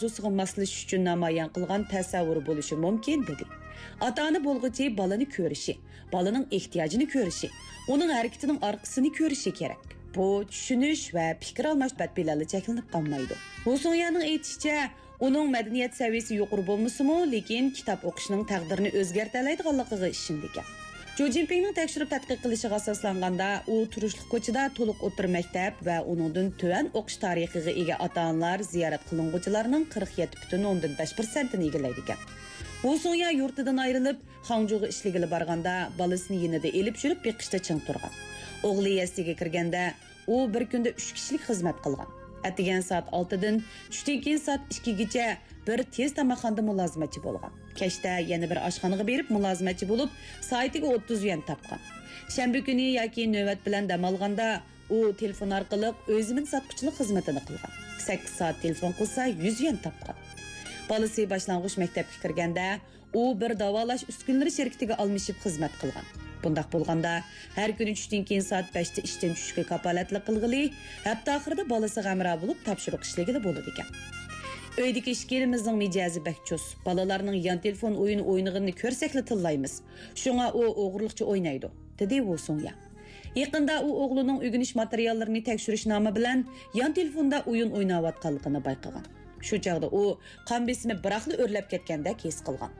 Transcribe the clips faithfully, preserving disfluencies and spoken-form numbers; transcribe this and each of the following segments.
ئارزۇسىغا ماسلىشىش ئۈچۈن نامايان قىلغان تەسەۋۋۇرى بولۇشى مۇمكىن، دېدى. ئاتا-ئانا بولغۇچى بالىنى كۆرۈشى، بالىنىڭ ئېھتىياجىنى كۆرۈشى، ئۇنىڭ ھەرىكىتىنىڭ ئارقىسىنى كۆرۈشى كېرەك. بۇ چۈشىنىش ۋە پىكىر ئالماش بەت بىلەنلا چەكلىنىپ قالمايدۇ. ۋۇ سۇڭيانىڭ ئېيتىشىچە، ئۇنىڭ مەدەنىيەت سەۋىيەسى يۇقىرى بولمىسىمۇ، لېكىن كىتاب ئوقۇشنىڭ تەقدىرىنى ئۆزگەرتەلەيدىغانلىقىغا ئىشىنىدىكەن. جو جىنپىڭنىڭ تەكشۈرۈپ تەتقىق قىلىشىغا ئاساسلانغاندا، ئۇ تۇرۇشلۇق كوچىدا تولۇق ئوتتۇرا مەكتەپ ۋە ئۇنىڭدىن تۆۋەن ئوقۇش تارىخىغا ئىگە ئاتا-ئانىلار زىيارەت قىلىنغۇچىلارنىڭ قىرىق يەتتە پۈتۈن ئوندىن بەش پىرسەنتىنى ئىگىلەيدىكەن. ۋۇ سۇڭيا يۇرتىدىن ئايرىلىپ، خاڭجۇغا ئىشلىگىلى بارغاندا، بالىسىنى يېنىدا ئېلىپ يۈرۈپ بېقىشتا چىڭ تۇرغان. ئوغلى يەسلىگە كىرگەندە، ئۇ بىر كۈندە ئۈچ كىشىلىك خىزمەت قىلغان. ئەتىگەن سائەت ئالتىدىن چۈشتىن كېيىن سائەت ئىككىگىچە بىر تېز تاماقخانىدا مۇلازىمەتچى بولغان. كەچتە يەنە بىر ئاشخانىغا بېرىپ مۇلازىمەتچى بولۇپ، سائىتىگە ئوتتۇز يۈەن تاپقان. شەنبە كۈنى ياكى نۆۋەت بىلەن دەم ئالغاندا، ئۇ تېلېفون ئارقىلىق ئۆي زېمىن ساتقۇچىلىق خىزمىتىنى قىلغان. سەككىز سائەت تېلېفون قىلسا، يۈز يۈەن تاپقان. بالىسى باشلانغۇچ مەكتەپكە كىرگەندە، ئۇ بىر داۋالاش ئۈسكۈنىلىرى شىركىتىگە ئالمىشىپ خىزمەت قىلغان. بۇنداق بولغاندا، ھەر كۈنى چۈشتىن كېيىن سائەت بەشتە ئىشتىن چۈشۈشكە كاپالەتلىك قىلغىلى، ھەپتە ئاخىرىدا بالىسىغا ھەمراھ بولۇپ تاپشۇرۇق ئىشلىگىلى بولىدىكەن. ئۆيدىكى ئىككىلىمىزنىڭ مىجەزى بەك چۇس. بالىلارنىڭ يان تېلېفون ئويۇنى ئوينىغىنىنى كۆرسەكلا تىللايمىز. شۇڭا ئۇ ئوغرىلىقچە ئوينايدۇ، دېدى ۋۇ سۇڭيا. يېقىندا ئۇ ئوغلىنىڭ ئۆگىنىش ماتېرىياللىرىنى تەكشۈرۈش نامى بىلەن يان تېلېفوندا ئويۇن ئويناۋاتقانلىقىنى بايقىغان. شۇ چاغدا ئۇ قان بېسىمى بىراقلا ئۆرلەپ كەتكەندەك ھېس قىلغان.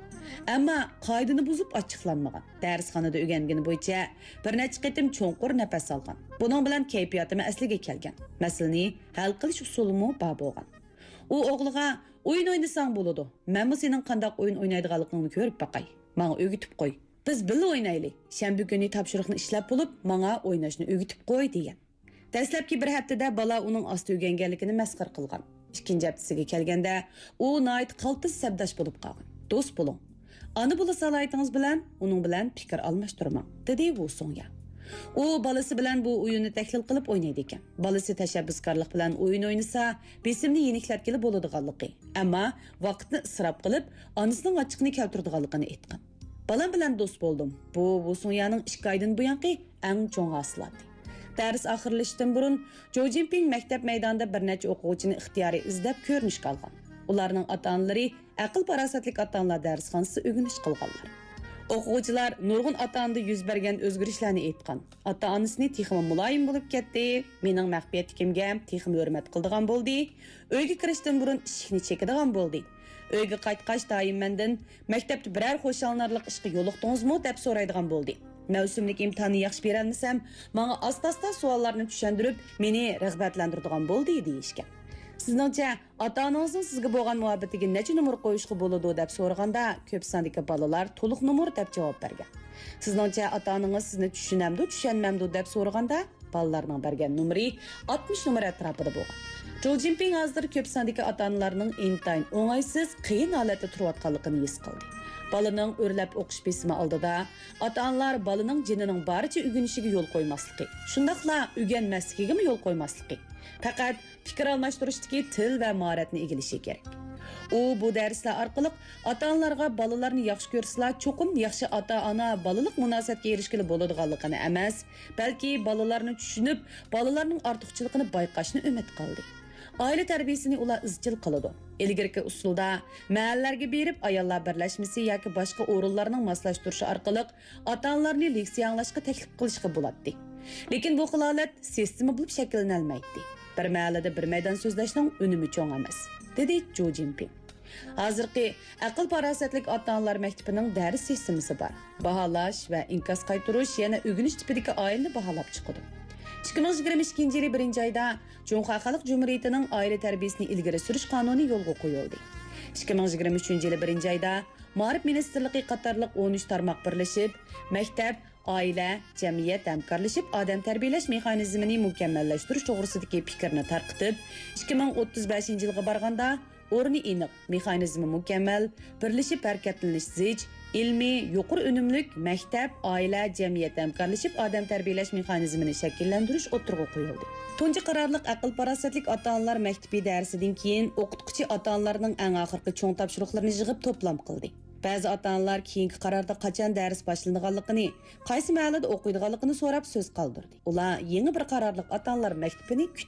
ئەمما قائىدىنى بۇزۇپ ئاچچىقلانمىغان. دەرسخانىدا ئۆگەنگىنى بويىچە بىر نەچچە قېتىم چوڭقۇر نەپەس ئالغان. بۇنىڭ بىلەن كەيپىياتىمۇ ئەسلىگە كەلگەن. مەسىلىنى ھەل قىلىش ئۇسۇلىمۇ بار بولغان. ئۇ ئوغلىغا، «ئويۇن ئوينىساڭ بولىدۇ. مەنمۇ سېنىڭ قانداق ئويۇن ئوينايدىغانلىقىڭنى كۆرۈپ باقاي. ماڭا ئۆگىتىپ قوي. بىز بىللە ئوينايلى. شەنبە كۈنى تاپشۇرۇقنى ئىشلەپ بولۇپ، ماڭا ئويناشنى ئۆگىتىپ قوي» دېگەن. دەسلەپكى بىر ھەپتىدە بالا ئۇنىڭ ئاستا ئۆگەنگەنلىكىنى مەسخىرە قىلغان. ئىككىنچى ھەپتىسىگە كەلگەندە، ئۇ ناھايىتى قالتىس سەپداش بولۇپ قالغان. «دوست بولۇڭ. ئانا بولا سالاھىيىتىڭىز بىلەن ئۇنىڭ بىلەن پىكىر ئالماشتۇرماڭ»، دېدى ۋۇ سۇڭيا. ئۇ بالىسى بىلەن بۇ ئويۇننى تەھلىل قىلىپ ئوينايدىكەن. بالىسى تەشەببۇسكارلىق بىلەن ئويۇن ئوينىسا، بېسىمنى يېنىكلەتكىلى بولىدىغانلىقى، ئەمما ۋاقىتنى ئىسراپ قىلىپ، ئانىسىنىڭ ئاچچىقىنى كەلتۈرىدىغانلىقىنى ئېيتقان. «بالام بىلەن دوست بولدۇم. بۇ ۋۇ سۇڭيانىڭ ئىككى ئايدىن بۇيانقى ئەڭ چوڭ ھاسىلاتى.» دەرس ئاخىرلىشىشتىن بۇرۇن، جو جىنپىڭ مەكتەپ مەيدانىدا بىر نەچچە ئوقۇغۇچىنى ئىختىيارىي ئىزدەپ كۆرۈنۈشكە ئالغان. ئۇلارنىڭ ئاتا-ئانىلىرى ئەقىل-پاراسەتلىك ئاتا-ئانىلار دەرسخانىسىدا ئۆگىنىش قىلغانلار. ئوقۇغۇچىلار نۇرغۇن ئاتا-ئانىدا يۈز بەرگەن ئۆزگىرىشلەرنى ئېيتقان. «ئاتا-ئانىسىنى تېخىمۇ مۇلايىم بولۇپ كەتتى، مېنىڭ مەخپىيەتلىكىمگە تېخىمۇ ھۆرمەت قىلىدىغان بولدى، ئۆيگە كىرىشتىن بۇرۇن ئىشىكنى چېكىدىغان بولدى. ئۆيگە قايتقاچ دائىم مەندىن، 'مەكتەپتە بىرەر خۇشاللىنارلىق ئىشقا يولۇقتىڭىزمۇ؟' دەپ سورايدىغان بولدى. مەۋسۇملۇك ئىمتىھاننى ياخشى بېرەلمىسەم، ماڭا ئاستا-ئاستا سوئاللارنى چۈشەندۈرۈپ، مېنى رىغبەتلەندۈرىدىغان بولدى» دېيىشكەن. سىزنىڭچە، ئاتا-ئانىڭىزنىڭ سىزگە بولغان مۇھەببىتىگە نەچچە نومۇر قويۇشقا بولىدۇ دەپ سورىغاندا، كۆپ ساندىكى بالىلار تولۇق نومۇر دەپ جاۋاب بەرگەن. سىزنىڭچە، ئاتا-ئانىڭىز سىزنى چۈشىنەمدۇ، چۈشەنمەمدۇ دەپ سورىغاندا، بالىلارنىڭ بەرگەن نومۇرى ئاتمىش نومۇر ئەتراپىدا بولغان. جو جىنپىڭ ھازىر كۆپ ساندىكى ئاتا-ئانىلارنىڭ ئىنتايىن ئوڭايسىز، قىيىن ھالەتتە تۇرۇۋاتقانلىقىنى ھېس قىلدى. بالىنىڭ ئۆرلەپ ئوقۇش بېسىمى ئالدىدا، ئاتا-ئانىلار بالىنىڭ جېنىنىڭ بارىچە ئۆگىنىشىگە يول قويماسلىقى، شۇنداقلا ئۆگەنمەسلىكىگىمۇ يول قويماسلىقى، پەقەت پىكىر ئالماشتۇرۇشتىكى تىل ۋە ماھارەتنى ئىگىلىشى كېرەك. ئۇ بۇ دەرسلەر ئارقىلىق ئاتا-ئانىلارغا بالىلارنى ياخشى كۆرسىلا، چوقۇم ياخشى ئاتا-ئانا بالىلىق مۇناسىۋەتكە ئېرىشكىلى بولىدىغانلىقىنى ئەمەس، بەلكى بالىلارنى چۈشىنىپ، بالىلارنىڭ ئارتۇقچىلىقىنى بايقاشنى ئۈمىد قىلدى. ئائىلە تەربىيەسىنى ئۇلار ئىزچىل قىلىدۇ. ئىلگىرىكى ئۇسۇلدا مەھەللىلەرگە بېرىپ، ئاياللار بىرلەشمىسى ياكى باشقا ئورۇنلارنىڭ ماسلاشتۇرۇشى ئارقىلىق ئاتا-ئانىلارنى لېكسىيە ئاڭلاشقا تەكلىپ قىلىشقا بولاتتى. لېكىن بۇ خىل ھالەت سىستېما بولۇپ شەكىللىنەلمەيتتى. بىر مەھەللىدە بىر مەيدان سۆزلەشنىڭ ئۈنۈمى چوڭ ئەمەس، دېدى جو جىنپىڭ. ھازىرقى ئەقىل-پاراسەتلىك ئاتا-ئانىلار مەكتىپىنىڭ دەرس سىستېمىسى بار. باھالاش ۋە ئىنكاس قايتۇرۇش يەنە ئۆگىنىش تىپىدىكى ئائىلىنى باھالاپ چىقىدۇ. ئىككى مىڭ يىگىرمە ئىككىنچى يىلى بىرىنچى ئايدا جۇڭخۇا خەلق جۇمھۇرىيىتىنىڭ ئائىلە تەربىيەسىنى ئىلگىرى سۈرۈش قانۇنى يولغا قويۇلدى. ئىككى مىڭ يىگىرمە ئۈچىنچى يىلى بىرىنچى ئايدا مائارىپ مىنىستىرلىقى قاتارلىق ئون ئۈچ تارماق بىرلىشىپ، مەكتەپ، ئائىلە، جەمئىيەت ھەمكارلىشىپ ئادەم تەربىيەلەش مېخانىزمىنى مۇكەممەللەشتۈرۈش توغرىسىدىكى پىكىرنى تارقىتىپ، ئىككى مىڭ ئوتتۇز بەشىنچى يىلغا بارغاندا ئورنى ئېنىق، مېخانىزمى مۇكەممەل، بىرلىشىپ ھەرىكەتلىنىش زىچ، ئىلمىي، يۇقىرى ئۈنۈملۈك مەكتەپ، ئائىلە، جەمئىيەت ھەمكارلىشىپ ئادەم تەربىيەلەش مېخانىزمىنى شەكىللەندۈرۈش ئوتتۇرىغا قويۇلدى. تۇنجى قارارلىق ئەقىل-پاراسەتلىك ئاتا-ئانىلار مەكتىپى دەرسىدىن كېيىن ئوقۇتقۇچى ئاتا-ئانىلارنىڭ ئەڭ ئاخىرقى چوڭ تاپشۇرۇقلىرىنى يىغىپ توپلام قىلدى. بەزى ئاتا-ئانىلار كېيىنكى قاراردا قاچان دەرس باشلىنىدىغانلىقىنى، قايسى مەھەللىدە ئوقۇيدىغانلىقىنى سوراپ سۆز قالدۇردى. ئۇلار يېڭى بىر قارارلىق ئاتا-ئانىلار مەكتىپىنى كۈتتى.